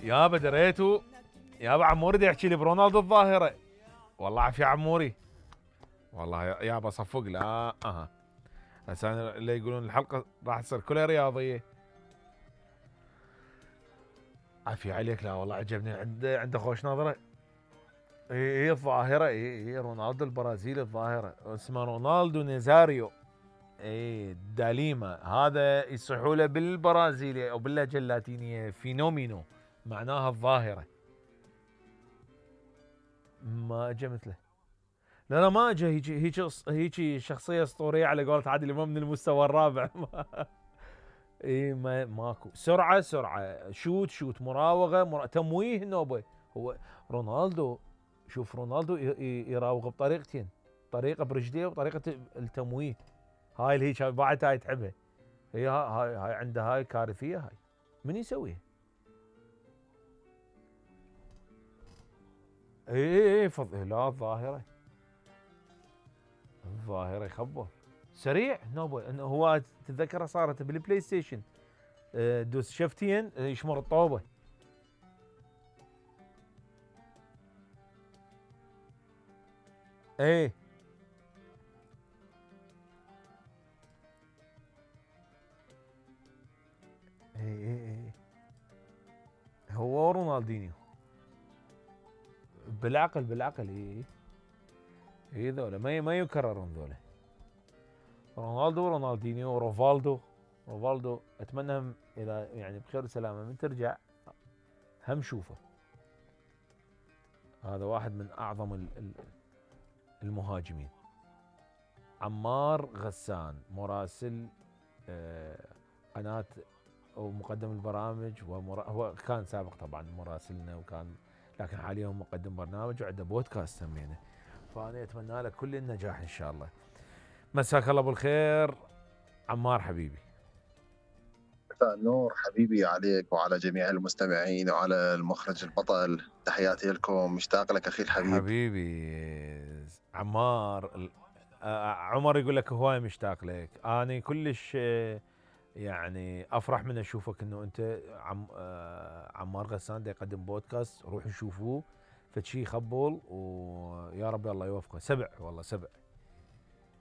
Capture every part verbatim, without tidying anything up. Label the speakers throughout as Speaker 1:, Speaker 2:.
Speaker 1: يابا دريتو يابا عموري دا يحكي لي برونالدو الظاهره. والله عافيه عموري. والله يابا صفق لا اها هسه اللي يقولون الحلقه راح تصير كلها رياضيه. عافيه عليك. لا والله عجبني عنده عنده خوش نظره. هي هي الظاهره هي هي رونالدو البرازيلي الظاهره اسمه رونالدو نيزاريو. اي داليما هذا يصيحوا له بالبرازيلي او باللهجه اللاتينيه فينومينو معناها الظاهره. ما اجى مثله. لا لا ما اجى هيك هيك هيك شخصيه اسطوريه على قولة عادل امام من المستوى الرابع. اي ما ماكو سرعه سرعه شوت شوت مراوغه مرا... تمويه نوبه. هو رونالدو شوف رونالدو يراوغ بطريقتين طريقه برجليه وطريقه التمويه. هاي اللي هيك بعد هاي تحبها. هي هاي هاي عنده هاي كارثيه. هاي من يسويها؟ اي اي اي فض... لا الظاهره الظاهره يخبر سريع نوبه. انه هو تتذكرها صارت بالبلاي ستيشن دوس شفتين يشمر الطوبه. ايه ايه ايه هو رونالدينيو بالعقل بالعقل. ايه ايه ذولا ما ما يكررون ذولا. رونالدو رونالدينيو روفالدو روفالدو اتمنى هم الى يعني بخير وسلامه من ترجع هم شوفه. هذا واحد من اعظم المهاجمين. عمار غسان مراسل قناه او مقدم البرامج ومرا... هو كان سابق طبعا مراسلنا وكان لكن حاليا هو مقدم برنامج وعنده بودكاست سمينه. فانا اتمنى له كل النجاح ان شاء الله. مساك الله بالخير عمار حبيبي.
Speaker 2: مساء النور حبيبي عليك وعلى جميع المستمعين وعلى المخرج البطل. تحياتي لكم. مشتاق لك اخي الحبيب.
Speaker 1: حبيبي عمار. عمر يقول لك هواي مشتاق لك. انا كلش يعني افرح من اشوفك انه انت عم عمار غسان دا يقدم بودكاست. روحوا شوفوه فشي خبول ويا رب الله يوفقه. سبع والله سبع.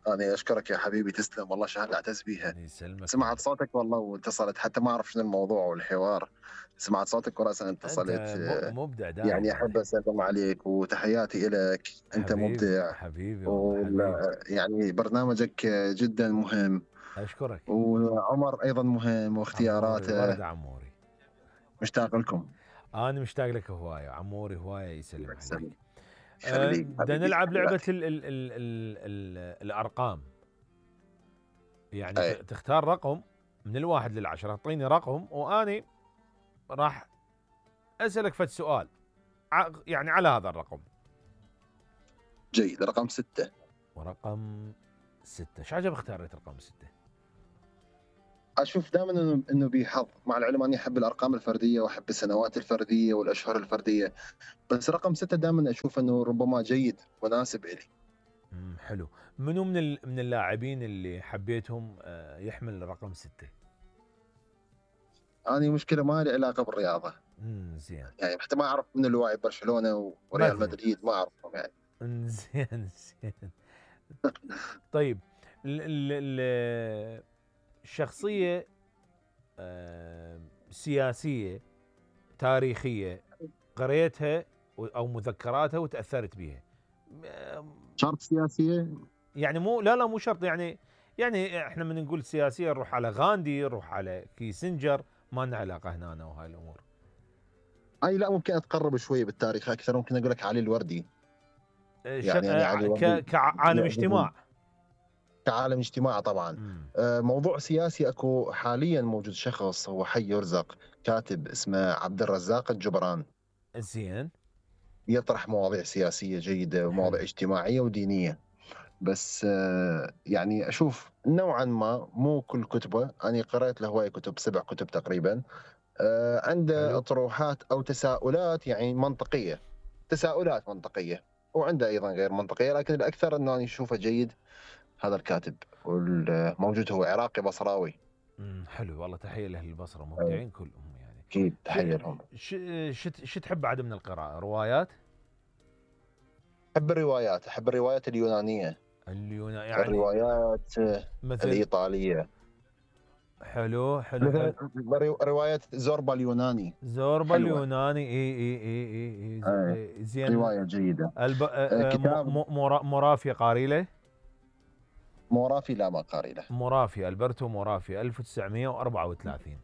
Speaker 2: أنا أشكرك يا حبيبي تسلم والله شهادة أعتز بيها. سمعت صوتك والله واتصلت حتى ما أعرف شنو الموضوع والحوار. سمعت صوتك ورأسا اتصلت.
Speaker 1: أنت مبدع دائما
Speaker 2: يعني أحب أسلم عليك وتحياتي لك. أنت
Speaker 1: حبيبي
Speaker 2: مبدع
Speaker 1: حبيبي
Speaker 2: والله يعني برنامجك جدا مهم.
Speaker 1: أشكرك.
Speaker 2: وعمر أيضا مهم واختياراته.
Speaker 1: ورد عموري.
Speaker 2: مشتاق لكم.
Speaker 1: أنا مشتاق لك هواية عموري هواية يسلم عليك.
Speaker 2: بدنا
Speaker 1: نلعب لعبة ال ال ال ال ال الأرقام. يعني أي. تختار رقم من الواحد للعشرة. اعطيني رقم وأني راح أسألك فد سؤال يعني على هذا الرقم.
Speaker 2: جيد. رقم ستة.
Speaker 1: ورقم ستة. شو عجب اختاريت رقم ستة؟
Speaker 2: أشوف دائما إنه إنه بحظ. مع العلم أني أحب الأرقام الفردية وأحب السنوات الفردية والأشهر الفردية. بس رقم ستة دائما أشوف إنه ربما جيد مناسب إلي.
Speaker 1: امم حلو. منو من من اللاعبين اللي حبيتهم يحمل رقم ستة؟
Speaker 2: أنا مشكلة ما لي علاقة بالرياضة.
Speaker 1: امم زين.
Speaker 2: يعني حتى ما أعرف من اللاعب برشلونة وريال مدريد ما أعرفهم يعني.
Speaker 1: زين زين. طيب الشخصية سياسية تاريخية قريتها أو مذكراتها وتأثرت بها.
Speaker 2: شرط سياسية؟
Speaker 1: يعني مو لا لا مو شرط. يعني يعني احنا من نقول سياسية نروح على غاندي نروح على كيسنجر. ما لنا علاقة هنا أنا وهاي الأمور.
Speaker 2: أي لا ممكن أتقرب شوي بالتاريخ أكثر. ممكن أقول لك علي الوردي.
Speaker 1: يعني, يعني علي ك... كعالم اجتماع.
Speaker 2: كعالم اجتماع طبعا. آه موضوع سياسي اكو حاليا موجود شخص هو حي يرزق كاتب اسمه عبد الرزاق الجبران.
Speaker 1: زين.
Speaker 2: يطرح مواضيع سياسية جيدة ومواضيع اجتماعية ودينية. بس آه يعني اشوف نوعا ما مو كل كتبه. انا قرأت له هواي كتب سبع كتب تقريبا. آه عنده حلو. اطروحات او تساؤلات يعني منطقية. تساؤلات منطقية وعنده ايضا غير منطقية. لكن الاكثر انه انا اشوفه جيد هذا الكاتب. والموجود هو عراقي بصراوي.
Speaker 1: امم حلو والله. تحيه لاهل البصره مبدعين كلهم يعني
Speaker 2: اكيد تحيه لهم.
Speaker 1: شو تحب بعد من القراءه؟ روايات؟
Speaker 2: احب الروايات، احب الروايات اليونانيه،
Speaker 1: اليونان يعني
Speaker 2: الروايات
Speaker 1: مثل
Speaker 2: الايطاليه.
Speaker 1: حلو حلو
Speaker 2: مثلا
Speaker 1: حلو.
Speaker 2: روايه زوربا اليوناني،
Speaker 1: زوربا
Speaker 2: حلوة.
Speaker 1: اليوناني اي اي اي اي,
Speaker 2: آه.
Speaker 1: إي زين.
Speaker 2: روايه جيده.
Speaker 1: الب...
Speaker 2: آه كتاب
Speaker 1: م... م... مرافي قاري له؟
Speaker 2: مورافي لا ما قاري له.
Speaker 1: مرافي، البرتو مرافي ألف وتسعمية وأربعة وثلاثين.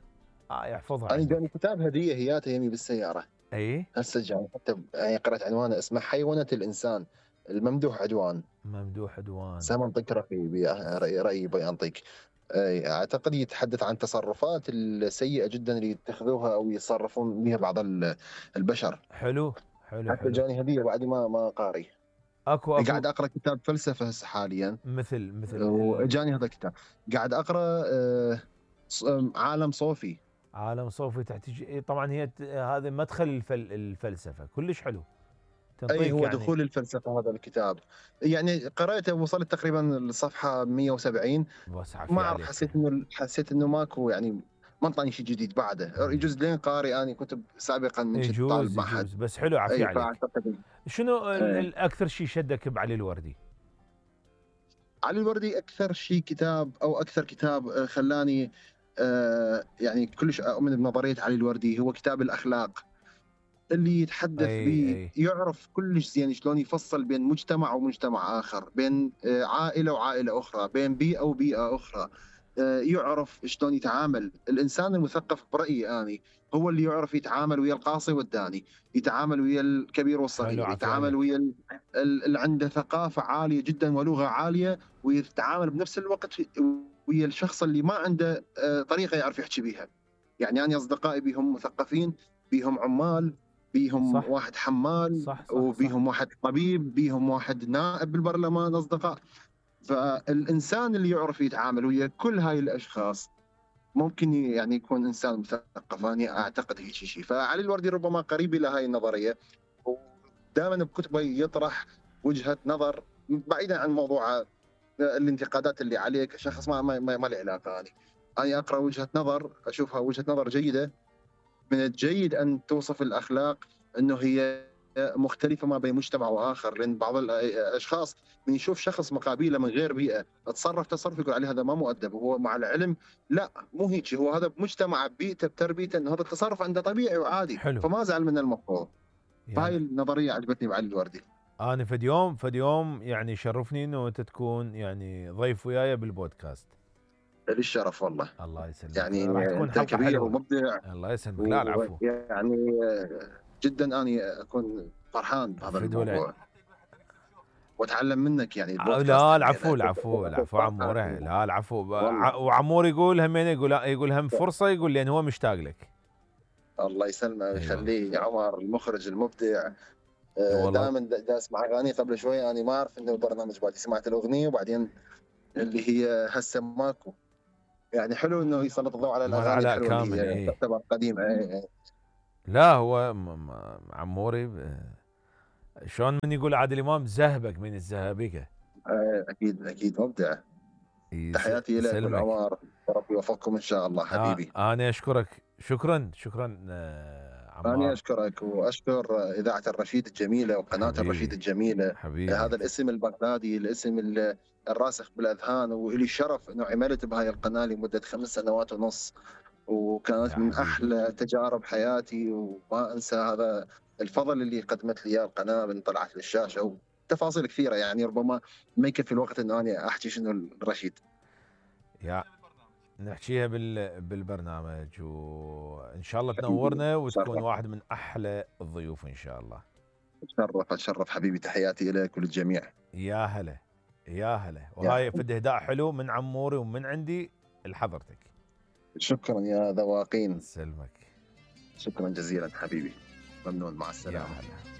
Speaker 1: اه يحفظها
Speaker 2: انا
Speaker 1: عندك.
Speaker 2: جاني كتاب هديه هياته يمي بالسياره.
Speaker 1: اي
Speaker 2: هسه جاني حتى يعني قرأت عنوانه، اسمه حيوانة الانسان الممدوح عدوان.
Speaker 1: ممدوح عدوان.
Speaker 2: سام انطيك رأيي رأيي رأيي بينطيك. اعتقد يتحدث عن تصرفات السيئة جدا اللي يتخذوها او يتصرفون بها بعض البشر.
Speaker 1: حلو حلو
Speaker 2: حتى
Speaker 1: حلو.
Speaker 2: جاني هدية بعد ما ما قاري.
Speaker 1: اكو اكو
Speaker 2: قاعد اقرا كتاب فلسفة هسه حاليا.
Speaker 1: مثل مثل
Speaker 2: وجاني هذا الكتاب. قاعد اقرا آه، عالم صوفي.
Speaker 1: عالم صوفي تحتاج طبعا، هي هذا مدخل الفل الفلسفة كلش حلو.
Speaker 2: اي هو
Speaker 1: يعني
Speaker 2: دخول الفلسفه هذا الكتاب. يعني قرأته وصلت تقريبا الصفحه مية وسبعين.
Speaker 1: بس
Speaker 2: ما اعرف، حسيت انه حسيت انه ماكو يعني ما انطاني شيء جديد بعده. يجوز لين قارئ اني كتب سابقا من كنت طالب
Speaker 1: يجوز
Speaker 2: معهد.
Speaker 1: يجوز بس حلو عافية
Speaker 2: اي
Speaker 1: عليك.
Speaker 2: فاعتقد.
Speaker 1: شنو
Speaker 2: ايه.
Speaker 1: اكثر شيء شدك بعلي الوردي؟
Speaker 2: علي الوردي اكثر شيء كتاب او اكثر كتاب خلاني آه يعني كلش اؤمن بنظريه علي الوردي هو كتاب الاخلاق، اللي يتحدث به يعرف كلش زين شلون يفصل بين مجتمع ومجتمع اخر، بين عائله وعائله اخرى، بين بيئه وبيئه اخرى. يعرف شلون يتعامل الانسان المثقف برايي اني، هو اللي يعرف يتعامل ويا القاصي والداني، يتعامل ويا الكبير والصغير، يتعامل ويا اللي عنده ثقافه عاليه جدا ولغه عاليه، ويتعامل بنفس الوقت ويا الشخص اللي ما عنده طريقه يعرف يحكي بيها. يعني انا اصدقائي بيهم مثقفين، بيهم عمال، بيهم صح. واحد حمال، صح صح وبيهم صح. واحد طبيب، بيهم واحد نائب بالبرلمان اصدقاء. فالانسان اللي يعرف يتعامل ويا كل هاي الاشخاص ممكن يعني يكون انسان مثقف. انا اعتقد هيك شيء. فعلي الوردي ربما قريب الى هاي النظريه، ودائما بكتبه يطرح وجهه نظر بعيدا عن موضوع الانتقادات اللي عليه كشخص. ما ما, ما, ما له علاقه. انا انا اقرا وجهه نظر اشوفها وجهه نظر جيده. من الجيد ان توصف الاخلاق انه هي مختلفه ما بين مجتمع واخر، لان بعض الاشخاص من يشوف شخص مقابله من غير بيئه تصرف تصرف يقول عليه هذا ما مؤدب، وهو مع العلم لا مو هيك، هو هذا بمجتمع ببيئته بتربيته انه هذا التصرف عنده طبيعي وعادي. حلو. فما زعل من المفروض. يعني فهاي النظريه عجبتني بعلي الوردي.
Speaker 1: انا فد يوم فد يوم يعني شرفني انه انت تكون يعني ضيف وياي بالبودكاست.
Speaker 2: لي الشرف والله.
Speaker 1: الله يسلمك.
Speaker 2: يعني
Speaker 1: راح تكون
Speaker 2: حلقه كبير حلوة. ومبدع.
Speaker 1: الله يسلمك. لا العفو.
Speaker 2: يعني جدا اني اكون فرحان بهذا الموضوع واتعلم منك يعني البودكاست.
Speaker 1: لا العفو العفو العفو عموري. لا العفو. وعمور يقول همين يقول يقول هم فرصه، يقول لان هو مشتاق لك.
Speaker 2: الله يسلمه ويخليه يا عمر المخرج المبدع. دائما دا اسمع اغاني. قبل شوي انا ما اعرف انه البرنامج بعد سمعت الاغنيه وبعدين اللي هي هسه ماكو. يعني حلو انه يسلط الضوء على الاغاني الحلوه اللي هي تعتبر قديمه. ايه.
Speaker 1: لا هو عموري شلون من يقول عادل امام زهبك من الزهابكه.
Speaker 2: اكيد اكيد مبدع. تحياتي لك والعمار، وربي يوفقكم ان شاء الله حبيبي.
Speaker 1: آه انا اشكرك. شكرا شكرا آه عمار.
Speaker 2: انا اشكرك واشكر اذاعه الرشيد الجميله وقناه
Speaker 1: حبيبي.
Speaker 2: الرشيد الجميله.
Speaker 1: حبيبي.
Speaker 2: هذا الاسم البغدادي، الاسم الراسخ بالاذهان، والي شرف انه عملت بهاي القناه لمده خمس سنوات ونص، وكانت من احلى تجارب حياتي، وما انسى هذا الفضل اللي قدمت لي القناه من طلعت للشاشه، وتفاصيل كثيره يعني ربما ما يكفي الوقت انه انا احكي شنو الرشيد.
Speaker 1: يا نحكيها بال بالبرنامج، وان شاء الله تنورنا وتكون واحد من احلى الضيوف ان شاء الله.
Speaker 2: تشرف اتشرف حبيبي. تحياتي لك وللجميع.
Speaker 1: يا هلا يا هلا. وهاي فد اهداء حلو من عموري ومن عندي لحضرتك.
Speaker 2: شكرا يا ذواقين.
Speaker 1: سلمك.
Speaker 2: شكرا جزيلا حبيبي. ممنون. مع السلامه.
Speaker 1: يا هلا.